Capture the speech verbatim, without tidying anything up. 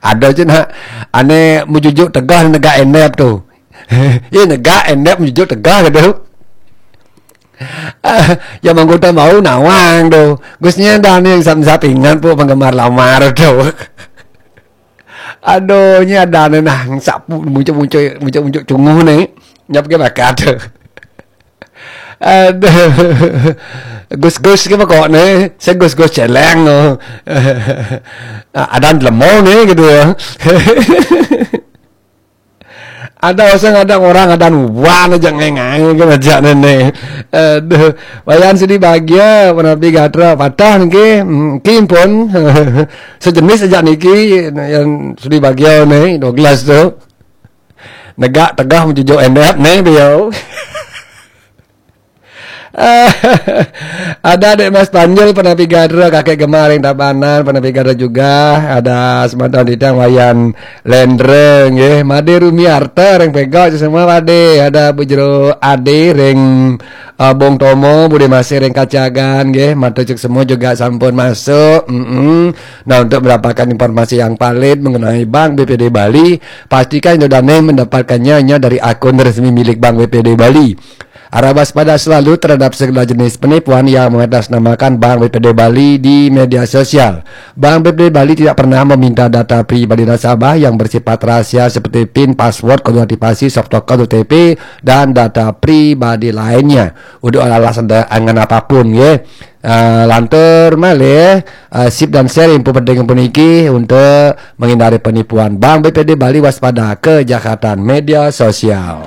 Ada je nak, ane mujujuk tegah negak endep tu. Ye negak endep mujujuk tegah ke tu. Ya manggota bau nawang tu. Gusnya dah ni yang sap-sap ingat pu penggemar lamar tu. Aduh, nya ada ni nah sapu muncul-muncul muncul-muncul cunguh ni. Nyap ke bakat tu. Aduh. Gus-gus ke kok ni? Saya gus-gus celeng tu. Ada lemo ni gitu ya. Ada orang, ada orang, ada nuan aja ngengai kan aja nene. Aduh, wayan sudi bahagia menapi gatra patah niki, hmm, ki pun sejenis aja niki yang sudi bahagia ni Douglas tu. Negak tegah menjujuk endap ni beliau. Ada Dek Mas Panjul, Penapi Gadra, Kakek Gemar yang Tabanan, Penapi Gadra juga. Ada Sematang Ditang, Wayan Lendra nggih. Made Rumi Arta ring Pegok semua pade. Ada Bu Jero Ade ring uh, Bong Tomo, Bude Masih ring Kacagan nggih. Mata cek semua juga sampun masuk. Mm-mm. Nah, untuk mendapatkan informasi yang valid mengenai Bank B P D Bali, pastikan itu dana mendapatkannya hanya dari akun resmi milik Bank B P D Bali. Harap waspada selalu terhadap segala jenis penipuan yang mengatasnamakan Bank B P D Bali di media sosial. Bank B P D Bali tidak pernah meminta data pribadi nasabah yang bersifat rahasia seperti pin, password, kode aktivasi, soft token, O T P, dan data pribadi lainnya. Udah alasan angan apapun, ya. Uh, lantur malih, uh, sip dan share info penting puniki untuk menghindari penipuan. Bank B P D Bali waspada kejahatan media sosial.